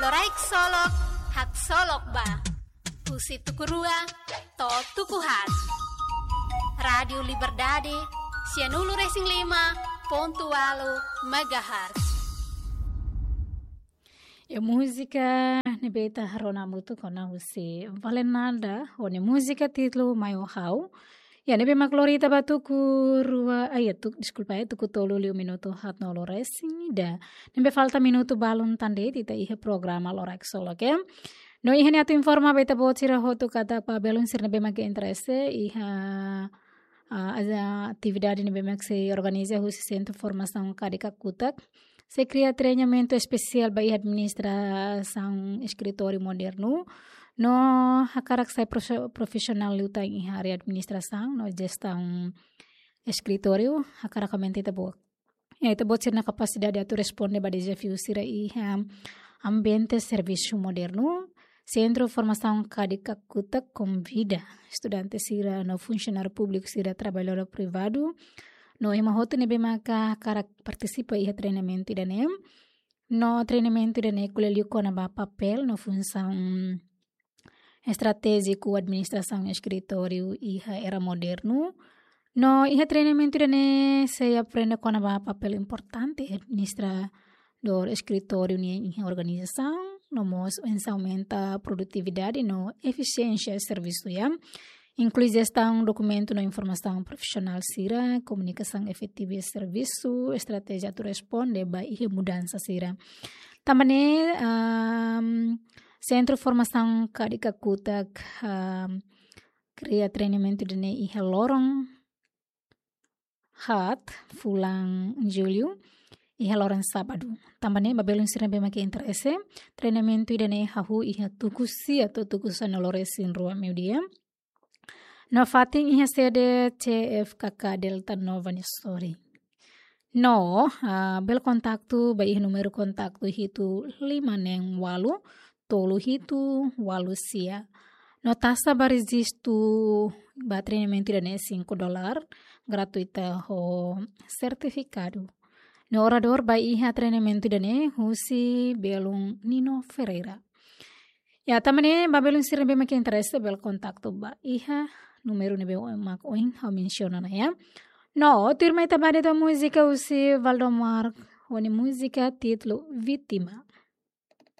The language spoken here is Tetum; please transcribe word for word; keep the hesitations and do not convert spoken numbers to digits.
Loraik Solok, haksolok ba. Husi tuku rua to'o tuku haat. Rádiu Liberdade, sianulu-resin-lima pontu ualu megahertz. Ya, múzika ne'ebé ita rona hamutuk ona husi Valenada, ho nia múzika títulu Mai ho Ha'u. Ya, ne'ebé mak lori ita ba tuku rua, ah, ya, tuk-, deskulpa, ya, tuku tolu liu minutu haatnulu-resin-ida. Ne'ebé falta minutu balun tan de'it ita iha programa Loraik Solok, oke? No iha ne'e atu informa ba ita-boot sira hotu katak ba belun sira ne'ebé mak interese iha, ah, ada atividade ne'ebé mak sei organiza husi Sentru Formasaun Kadik Kakutak. Sei kria treinamentu espesiál ba iha administrasaun eskritóriu modernu. No hakarak sai profe-, profisionál liután iha área administrasaun no jestaun eskritóriu, hakarak aumenta ita-boot, ya, ita-boot sira-nia kapasidade atu responde ba dezafiu sira iha ambiente servisu modernu. Sentru Formasaun Kadik Kakutak konvida estudante sira no funsionáriu públiku sira, traballadór privadu no ema hotu ne'ebé maka hakarak partisipa iha treinamentu ida-ne'e. No treinamentu ida-ne'e ko'alia liu kona-ba papél no funsaun estratéjiku administrasaun eskritóriu iha era modernu. No iha treinamentu ida-ne'e sei aprende kona-ba papél importante administradór eskritóriu nian iha organizasaun, no mós oinsá aumenta produtividade no efisiénsia servisu, ya. Inklui jestaun dokumentu no informasaun profisionál sira, komunikasaun efetiva iha servisu, estratéjia atu responde ba iha mudansa sira. Tanba ne'e, am, Sentru Formasaun Kadik Kakutak, am, kria treinamentu ida-ne'e iha loron haat, fulan Jullu, iha loron sábadu. Tanba ne'e ba belun sira ne'ebé mak interese, treinamentu ida-ne'e hahú iha tuku sia to'o tuku sanulu-resin-rua meiudia. No fatin iha sede C F K K Delta Nova nia sorin. No, ah, bele kontaktu ba iha númeru kontaktu hitu lima neen ualu tolu hitu ualu sia. No taxa ba rejistu ba treinamentu ida-ne'e cinco dólar, gratuita ho sertifikadu. No oradór ba iha treinamentu ida-ne'e husi belun Nino Ferreira. Ya, tanba ne'e ba belun sira ne'ebé mak interese bele kontaktu ba iha númeru ne'ebé mak ohin ha'u mensiona ona, ya. No tuirmai ita ba de'it ho múzika husi Valdomar, ho nia múzika títulu Vítima.